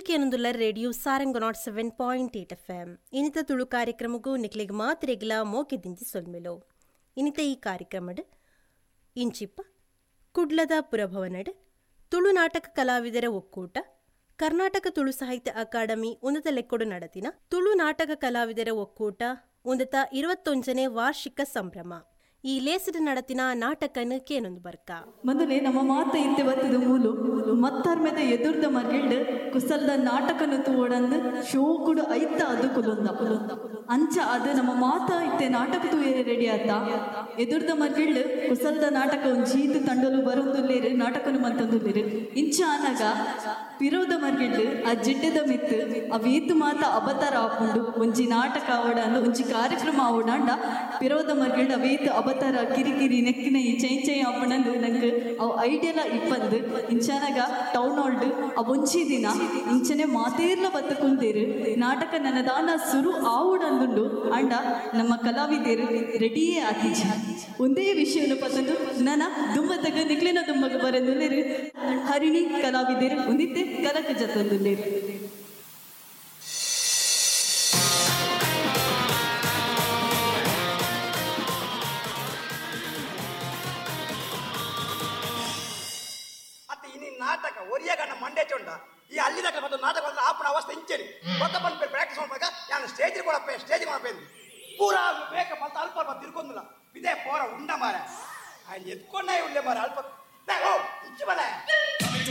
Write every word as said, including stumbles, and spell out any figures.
ಕೇನೊಂದುಲ್ಲ radio Sarang nought seven point eight F M. ಇನಿತ ತುಳು ಕಾರ್ಯಕ್ರಮಕ್ಕೂ ನಿಕ್ಲೆಗ್ ಮಾತ್ರೆಗ್ಲ ಮೋಕೆ ದಿಂಜಿ ಸೊಲ್ಮೆಲೋ. ಇನಿತ ಈ ಕಾರ್ಯಕ್ರಮಡ್ ಇಂಚಿಪ್ಪ ಕುಡ್ಲದ ಪುರಭವನಡ್ ತುಳು ನಾಟಕ ಕಲಾವಿದರ ಒಕ್ಕೂಟ ಕರ್ನಾಟಕ ತುಳು ಸಾಹಿತ್ಯ ಅಕಾಡೆಮಿ ಉನ್ನತ ಲೆಕ್ಕೊಡು ನಡತಿನ ತುಳು ನಾಟಕ ಕಲಾವಿದರ ಒಕ್ಕೂಟ ಉನ್ನತ ಇರುವತ್ತೊಂಜನೇ ವಾರ್ಷಿಕ ಸಂಭ್ರಮ ಈ ಲೇಸಿಡ್ ನಡತಿನ ನಾಟಕನ ಕೇನೊಂದು ಬರ್ಕ. ಮೊದಲೇ ನಮ್ಮ ಮಾತ ಇತ್ತೆ ಬತ್ತದ ಮೂಲು ಮತ್ತರ್ಮೆದ ಎದುರ್ದ ಮರ್ಗಿಲ್ಡ್ ಕುಸಲ್ದ ನಾಟಕನು ತೂವಡಂದು ಶೋಕುಡು ಐತ ಅದು ಕುಲುಂದ ಅಂಚ ಅದು ನಮ್ಮ ಮಾತ ಇತ್ತೆ ನಾಟಕ ತೂಯರೆ ರೆಡಿ ಆತ ಎದುರ್ದ ಮರ್ಗಿಲ್ಡ್ ಕುಸಲ್ದ ನಾಟಕ ಒಂಜೀತು ತಂಡಲು ಬರೊಂದುಲ್ಲೇರು ನಾಟಕನು ಮಂತಂದುಲ್ಲೇರು ಇಂಚ ಆನಗ ಪಿರೋದ ಮರ್ಗಿಲ್ಡ್ ಆ ಜಿಡ್ಡೆದ ಮಿತ್ತು ಅವೇತು ಮಾತ ಅಬತಾರ ಆಪುಂಡು ಒಂಜಿ ನಾಟಕ ಆವಡಂದು ಒಂಜಿ ಕಾರ್ಯಕ್ರಮ ಆವಡಾಂಡ ಪಿರೋದ ಮರ್ಗಿಲ್ಡ್ ಅವೇತು ಅಬತಾರ ಕಿರಿಕಿರಿ ನೆಕ್ಕಿನ ಈ ಚೈ ಚೈ ಆಪಣಂದು ನಂಗೆ ಅವು ಐಡಿಯಲ ಇಪ್ಪಂದು ಇಂಚಾನಗ ಟೌನ್ ಹಾಲ್ಡ್ ಆ ಒಂಜಿ ದಿನ ಇಂಚನೆ ಮಾತೇರ್ಲ ಬತ್ತ ಕುಂತೇರು ನಾಟಕ ನನ್ನದಾನ ಸುರು ಆವುಡಂದುಂಡು ಅಂಡ ನಮ್ಮ ಕಲಾವಿದರು ರೆಡಿಯೇ ಆತಿಜ ಒಂದೇ ವಿಷಯವನ್ನು ಪತ್ತಂದು ನನ್ನ ದುಮ್ಮತಗ ನಿಕ್ಲಿನ ದುಮ್ಮಗ ಬರೆಂದುಲ್ಲೇರು ಹರಿಣಿ ಕಲಾವಿದರು ಒಂದಿತ್ತೆ ಕಲಕ ಜತ್ತಂದುಲ್ಲೇರು. ನಾಟಕ ಒರಿಯಗಣ್ಣ ಮಂಡೆ ಚೊಂಡ ಈ ಅಲ್ಲಿ ತಕ್ಕ ಮತ್ತು ನಾಟಕ ಬಂದ್ರೆ ಆಪಣ ಅವಸ್ಥೆ ಇಂಚೇರಿ ಕೊತ್ತ ಬಂದು ಪ್ರಾಕ್ಟೀಸ್ ಮಾಡ್ಬೇಕ ನಾನು ಸ್ಟೇಜ್ ಕೊಡಪ್ಪ ಸ್ಟೇಜ್ ಕೊಡಪ್ಪ ಪೂರಾ ಬೇಕ ಮತ್ತೆ ಅಲ್ಪ ಅಲ್ಪ ತಿರ್ಕೊಂದಿಲ್ಲ ಇದೇ ಪೋರ ಉಂಡ ಮಾರ ಎತ್ಕೊಂಡ ಉಳ್ಳೆ ಮಾರ ಅಲ್ಪ ಓ ಇಂಚು ಬಲ.